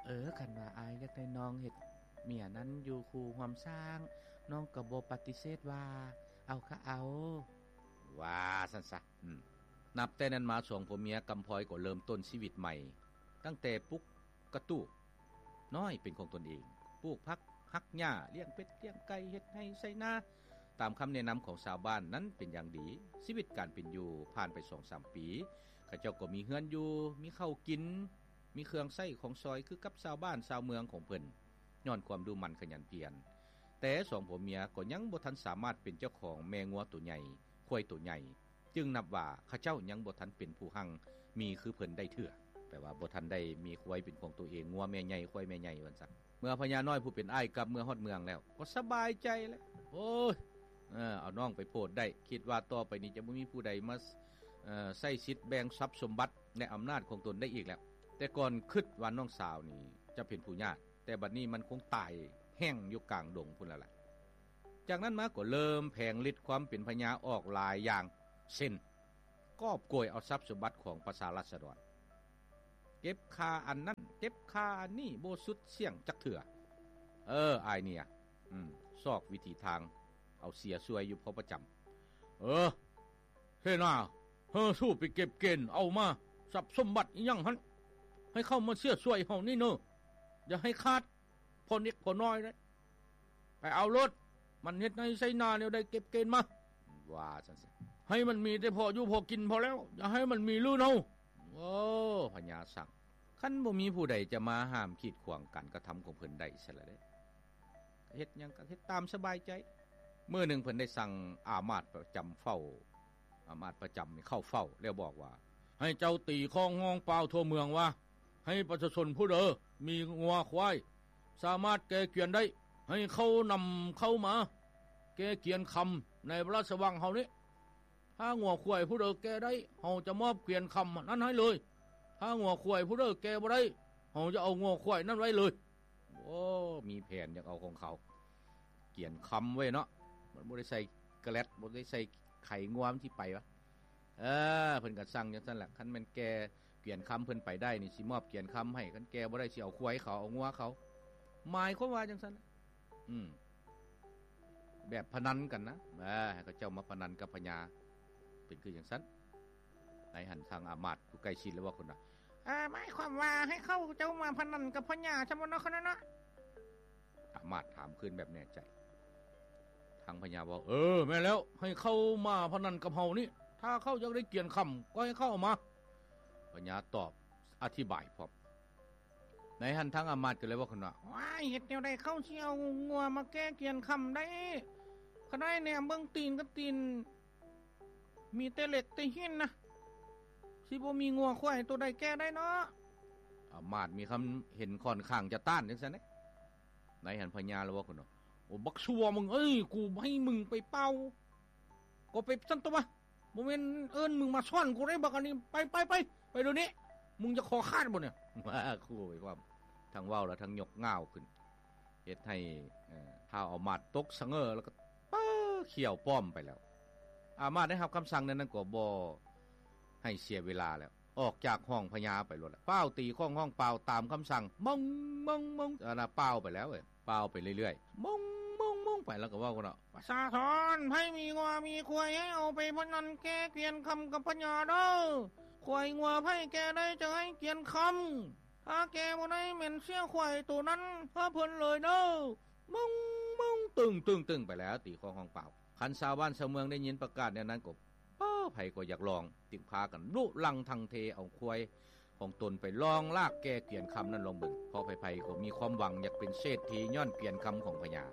ເອີ ຄັນວ່າອ້າຍຢາກໄດ້ນ້ອງເຮັດເມຍນັ້ນຢູ່ຄູ່ຮ່ວມສ້າງ ນ້ອງກໍບໍ່ປະຕິເສດວ່າ ເອົາກະເອົາ. ວ່າຊັ້ນຊະ. ອືມ ນັບແຕ່ນັ້ນມາ ສອງຜົວເມຍກຳພອຍກໍເລີ່ມຕົ້ນຊີວິດໃໝ່ ຕັ້ງແຕ່ປຸກກະຕູບນ້ອຍເປັນຂອງຕົນເອງ, ປູກຜັກ, ຫັກຫຍ້າ, ລ້ຽງເປັດ, ລ້ຽງໄກ່, ເຮັດໄຮ່ໄຖນາ ຕາມຄຳແນະນຳຂອງຊາວບ້ານນັ້ນເປັນຢ່າງດີ. ຊີວິດການເປັນຢູ່ຜ່ານໄປສອງສາມປີ, ເຂົາເຈົ້າກໍມີເຮືອນຢູ່, ມີເຂົ້າກິນ, ມີເຄື່ອງໃຊ້ຂອງສອຍຄືກັບຊາວບ້ານຊາວເມືອງຂອງເພິ່ນ ຍ້ອນຄວາມດຸໝັ່ນຂະຫຍັນພຽນ. ແຕ່ສອງຜົວເມຍກໍຍັງບໍ່ທັນສາມາດເປັນເຈົ້າຂອງແມ່ງົວໂຕໃຫຍ່, ຄວາຍໂຕໃຫຍ່, ຈຶ່ງນັບວ່າເຂົາເຈົ້າຍັງບໍ່ທັນເປັນຜູ້ຮັ່ງມີຄືເພິ່ນໄດ້ເທື່ອ. ແປວ່າບໍ່ທັນໄດ້ມີຄວາຍເປັນຂອງຕົວເອງ, ງົວແມ່ໃຫຍ່, ຄວາຍແມ່ໃຫຍ່ວ່າຊັ້ນ. ເມື່ອພະຍານ້ອຍຜູ້ເປັນອ້າຍກັບເມືອຮອດເມືອງແລ້ວ ກໍສະບາຍໃຈແລ້ວ. ໂອ້ຍ ເອີ ເອົານ້ອງໄປໂພດໄດ້, ຄິດວ່າຕໍ່ໄປນີ້ຈະບໍ່ມີຜູ້ໃດມາ ເອີ ໃຊ້ສິດແບ່ງຊັບສົມບັດ ແລະ ອຳນາດຂອງຕົນໄດ້ອີກແລ້ວ. ແຕ່ກ່ອນຄິດວ່ານ້ອງສາວນີ້ຈະເປັນຜູ້ຍາດ, ແຕ່ບັດນີ້ມັນຄົງຕາຍແຫ້ງຢູ່ກາງດົງພຸ້ນແລ້ວລະ. ຈາກນັ້ນມາກໍເລີ່ມແຜງລິດຄວາມເປັນພະຍາອອກຫຼາຍຢ່າງ ເຊັ່ນ ກອບໂກຍເອົາຊັບສົມບັດຂອງປະຊາລາຊະດອນ, ເກັບຄ່າອັນນັ້ນ ເກັບຄ່າອັນນີ້ ບໍ່ສຸດສ່ຽງຈັກເທື່ອ. ເອີ ອ້າຍເນຍ ອືມ ຊອກວິທີທາງເອົາເສຍຊ່ວຍຢູ່ພໍປະຈຳ. ເອີ ເສນາ ເຮີ ສູ້ໄປເກັບເກນເອົາມາ ຊັບສົມບັດອີ່ຫຍັງຫັ້ນ ໃຫ້ເຂົາມາເສຍຊ່ວຍເຮົານີ້ເນີ, ຢ່າໃຫ້ຂາດພໍນິດພໍໜ້ອຍເດ້. ໄປເອົາໂລດ, ມັນເຮັດໄຮ່ໄຖນາແນວໃດເກັບເກນມາ ວ່າຊັ້ນຊະ. ໃຫ້ມັນມີແຕ່ພໍຢູ່ພໍກິນພໍແລ້ວ, ຢ່າໃຫ້ມັນມີລື່ນເຮົາ. ໂອ້ ພະຍາສັ່ງ, ຄັນບໍ່ມີຜູ້ໃດຈະມາຫ້າມກີດຂວາງການກະທຳຂອງເພິ່ນໄດ້ຊັ້ນລະເດ້. ເຮັດຫຍັງກໍເຮັດຕາມສະບາຍໃຈ. ມື້ໜຶ່ງເພິ່ນໄດ້ສັ່ງອາມາດປະຈຳເຝົ້າ, ອາມາດປະຈຳນີ້ເຂົ້າເຝົ້າ ແລ້ວບອກວ່າ ໃຫ້ເຈົ້າຕີຄ້ອງຮ້ອງປ່າວທົ່ວເມືອງວ່າ ໃຫ້ປະຊາຊົນຜູ້ໃດມີງົວຄວາຍສາມາດແກ່ກຽນໄດ້ ໃຫ້ເຂົານຳເຂົ້າມາແກ່ກຽນຄຳໃນພະລາຊະວັງເຮົານີ້. ຖ້າງົວຄວາຍຜູ້ໃດແກ່ໄດ້ ເຮົາຈະມອບກຽນຄຳນັ້ນໃຫ້ເລີຍ. ຖ້າງົວຄວາຍຜູ້ໃດແກ່ບໍ່ໄດ້ ເຮົາຈະເອົາງົວຄວາຍນັ້ນໄວ້ເລີຍ. ໂອ້ ມີແຜນຢາກເອົາຂອງເຂົາ, ກຽນຄຳໄວ້ເນາະ, ມັນບໍ່ໄດ້ໃສ່ກະແລັດ, ບໍ່ໄດ້ໃສ່ໄຂງົວ ມັນຊິໄປວະ. ເອີ ເພິ່ນກໍສັ່ງຈັ່ງຊັ້ນແຫຼະ, ຄັນແມ່ນແກ່ກຽນຄຳເພິ່ນໄປໄດ້ນີ້ ຊິມອບກຽນຄຳໃຫ້, ຄັນແກ່ບໍ່ໄດ້ ຊິເອົາຄວາຍເຂົາ ເອົາງົວເຂົາ. ໝາຍຄວາມວ່າຈັ່ງຊັ້ນແຫຼະ. ອືມ ແບບພະນັນກັນນະ, ເອີ ໃຫ້ເຂົາເຈົ້າມາພະນັນກັບພະຍາ, ເປັນຄືຈັ່ງຊັ້ນ. ໃນຫັ້ນທາງອາມາດຜູ້ໃກ້ຊິດແລ້ວເວົ້າຂຶ້ນວ່າ ເອີ ໝາຍຄວາມວ່າໃຫ້ເຂົາເຈົ້າມາພະນັນກັບພະຍາຊັ້ນບໍເນາະ ຄະນະເນາະ? ອາມາດຖາມຄືນແບບແນ່ໃຈ. ທາງພະຍາເວົ້າ ເອີ ແມ່ນແລ້ວ, ໃຫ້ເຂົາມາພະນັນກັບເຮົານີ້, ຖ້າເຂົາຢາກໄດ້ກຽນຄຳ ກໍໃຫ້ເຂົາເອົາມາ. ພະຍາຕອບອະທິບາຍພ້ອມ. ໃນຫັ້ນທາງອາມາດກໍເລີຍເວົ້າຂຶ້ນວ່າ ວ້າຍ ເຮັດແນວໃດເຂົາຊິເອົາງົວມາແກ່ກຽນຄຳໄດ້? ຂະນ້ອຍແນມເບິ່ງຕີນກັບຕີນ ມີແຕ່ເຫຼັກແຕ່ຫີນນະ, ຊິບໍ່ມີງົວຄວາຍໂຕໃດແກ່ໄດ້ເນາະ. ອາມາດມີຄຳເຫັນຂ້ອນຂ້າງຈະຕ້ານຈັ່ງຊັ້ນເດ້. ໃນຫັ້ນພະຍາລະເວົ້າຂຶ້ນວ່າ ໂອ້ ບັກຊົ່ວມຶງເອີຍ, ກູໃຫ້ມຶງໄປເປົ່າ ກໍໄປຊັ້ນຕົວະ, ບໍ່ແມ່ນເອີ້ນມຶງມາສອນກູເດ້ບັກອັນນີ້. ໄປ ໄປ ໄປ ໄປດຽວນີ້. ມຶງຈະຄໍຂາດບໍ່ນີ້? ວ່າ ຂູ່ໄປພ້ອມ, ທັງເວົ້າແລ້ວທັງຍົກງ່າວຂຶ້ນ. ເຮັດໃຫ້ ເອີ ທ້າວອາມາດຕົກສະເຫງີ້ ແລ້ວກໍເປີຂຽວປ້ອມໄປແລ້ວ. ອາມາດໄດ້ຮັບຄຳສັ່ງແນວນັ້ນກໍບໍ່ໃຫ້ເສຍເວລາແລ້ວ, ອອກຈາກຫ້ອງພະຍາໄປໂລດແຫຼະ. ຟ້າວຕີຄ້ອງຮ້ອງປ່າວຕາມຄຳສັ່ງ, ມົງ ມົງ ມົງ, ອັນນ່າ ປ່າວໄປແລ້ວເວີຍ, ປ່າວໄປເລື້ອຍໆ, ມົງ ມົງ ມົງ ໄປ. ແລ້ວກໍເວົ້າກັນວ່າ ປະຊາຊົນ ໃຜມີງົວມີຄວາຍ ໃຫ້ເອົາໄປພະນັນແກ່ກຽນຄຳກັບພະຍາເດີ້. ຄວາຍງົວໃຜແກ່ໄດ້ ຈະໃຫ້ກຽນຄຳ. ຖ້າແກ່ບໍ່ໄດ້ ແມ່ນເສຍຄວາຍໂຕນັ້ນໃຫ້ເພິ່ນເລີຍເດີ້. ມົງ ມົງ ຕຶ້ງ ຕຶ້ງ ຕຶ້ງ ໄປແລ້ວ, ຕີຄ້ອງຮ້ອງປ່າວ. ຄັນຊາວບ້ານຊາວເມືອງໄດ້ຍິນປະກາດແນວນັ້ນກໍ ເອີ ໃຜກໍຢາກລອງ, ຈຶ່ງພາກັນລຸລັງທັງເທເອົາຄວາຍຂອງຕົນໄປລອງລາກແກ່ກຽນຄຳນັ້ນລອງເບິ່ງ. ເພາະໃຜໆກໍມີຄວາມຫວັງຢາກເປັນເສດຖີຍ້ອນກຽນຄຳຂອງພະຍາ.